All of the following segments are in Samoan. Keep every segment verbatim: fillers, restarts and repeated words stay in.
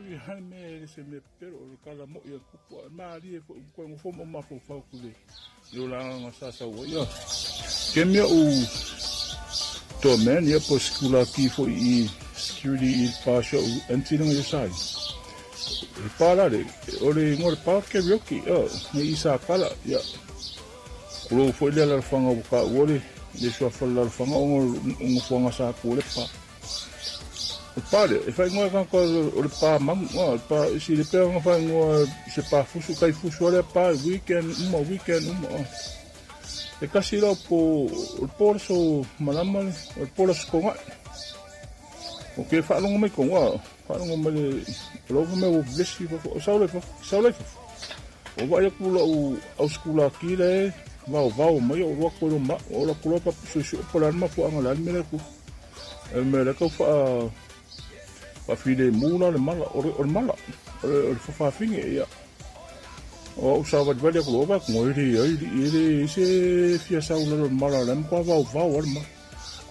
vi hale me se me pero o kala mo ia kupu ma ali e fo ko ngo fo mo ma fo fa ku le yo la nga sa sa wo ia ke me u to men ia po skula ki fo i security i pa sho anti nga sai e pa la le o le ngo le pa ke rioki o ni isa kala ia kulo fo ile la fanga ka wo le le sua fo la fanga o ngo fo nga sa ku le pa o pare e fai ngoa ka o le pa mang o pa si le pe nga fai ngoa se pa fusu kai fusu le pa weekend uma weekend uma e kasi lo po o por so malama le o por so konga o ke fa longo mai konga fa longo mai le lo me o vesi o sa le sa le o vai ku lo au skula ki le vau vau mai o ro ko ma o la kulo pa su su po la ma fu anga la me le ku me le ko fa pa file mula le mala o le mala o le fa finge ia o sa va vale ko va ko ri ai ri se fia sa ula le mala le ko va va o ma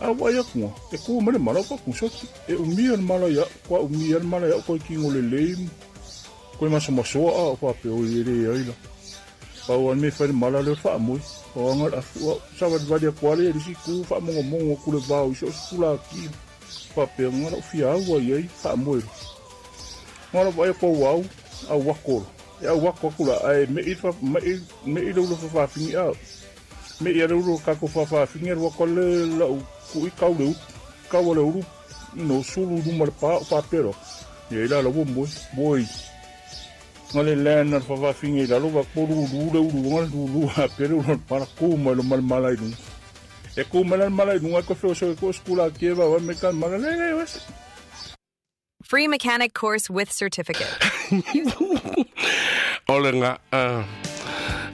a wa ya ko e ko me le mala ko ko so e o mi le mala ya ko o mi le mala ya ko ki ngo le le ko ma so ma so a ko pe o ri ai la pa o me fa le mala le fa mo o nga a sa va vale ko le ri si ku fa mo mo ko le va o so sula ki pa pe nga fia wa ye fa mo nga va ko wau a wa ko e a wa ko kula ai me i fa me i me i lo fa fi a me i lo ka ko fa fa fi wa ko le la ku i ka le ka wa le ru no sulu du mar pa pa pero ye la lo mo moi nga le le na fa fa fi la lo va ko lu lu le lu nga lu lu a pero no para ko ma lo mal mal ai e ko mala mala nunga ko fo so ko skula ke ba me kan mala le le Free mechanic course with certificate. Ole nga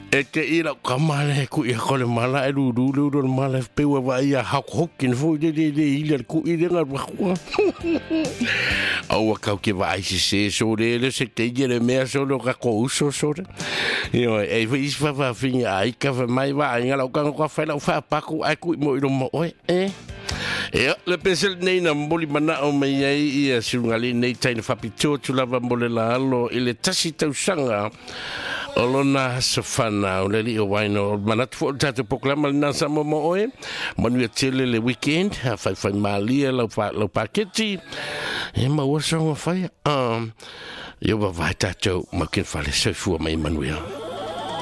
e te ira ka male ku i ko le mala e lu lu lu mala pe wa va ia ha hokin fo le le le ile ku i le nga wa au ka ke va ai se so le le se te le mea so lo ka ko uso so le yo e vi fa fa fi ai ka fa mai va nga lo ka ko fa la fa pa ku ai ku mo i lo mo e e le pesel nei na moli mana o mai ai ia sungali nei taina fapito tu lava mole la alo ile tasi tausanga olona sofana o le li o waino manatu fo tatu poklama na sa mo mo oe manu tele le weekend ha fai fai malia lau fa lau paketi e ma o sa fai um yo va va tatu makin fale soifua mai manuia.